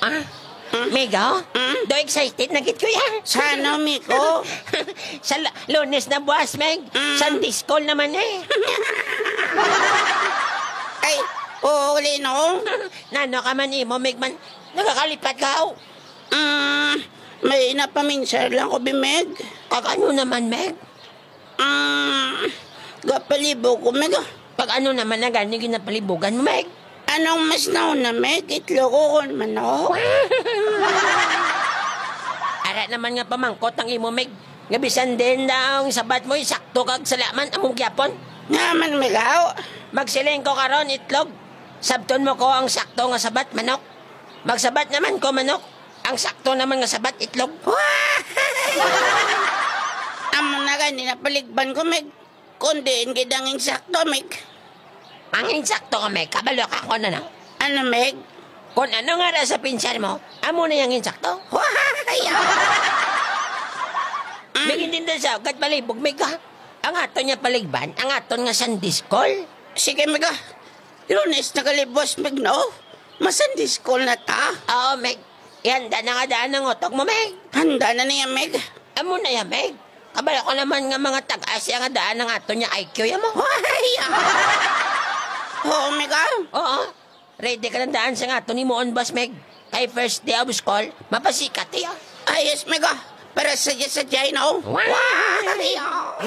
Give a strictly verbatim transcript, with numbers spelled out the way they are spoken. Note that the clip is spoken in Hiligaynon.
Ah, Migo? Mm? Do excited na gid ko yan. Sa ano, Migo? Sa la- Lunes na buwas, Meg. Mm. Sunday school naman eh. Ay, oo, uli, no? Nano ka man imo, Meg, man? Nagakalipat ka, oh. Mm, may napaminsar lang ko, bi, Meg. Kag ano naman, Meg? Mm, gapalibog ko, Meg, ah. Pag ano naman na gani ginapalibugan mo, Meg? Anong mas nauna, Meg? Itlog o kon manok? Ara naman nga pamangkot ang imo, Meg. Nga bisan din daw ang sabat mo, sakto kag salaman among gyapon. Nga man, Meg, aw. Magsiling ko karon, itlog. Sabton mo ko ang sakto nga sabat, manok. Magsabat naman ko, manok. Ang sakto naman nga sabat, itlog. Amo na gani napaligban ko, Meg. Kon diin gid ang insakto, Meg. Ang insakto ka, Meg, kabalo ka kon ano? Ano, Meg? Kon ano nga ra sa pinsar mo, amo na yang insakto. Wahaya! Meg, hindi na sa agad palibog, Meg, ha? Ang aton nga paligban, ang aton nga Sunday school. Sige, Meg, ah. Lunes na kalibos, Meg, no? Ma-Sunday school na ta. Oo, Meg. Ihanda na nga daan ang utog mo, Meg. Handa na niya, Meg. Amo na ya, Meg. Kabalo ko naman nga mga tag-as ya nga daan ang aton ya I Q ya mo. Hoy! Oo, Meg, ah. Oo. Ready ka na daan sa nga aton himuon, boss, Meg. Kay first day of school, mapasikat ya. Ay, yes, Meg, ah. Para sa sa China, oh. Wow! Wow!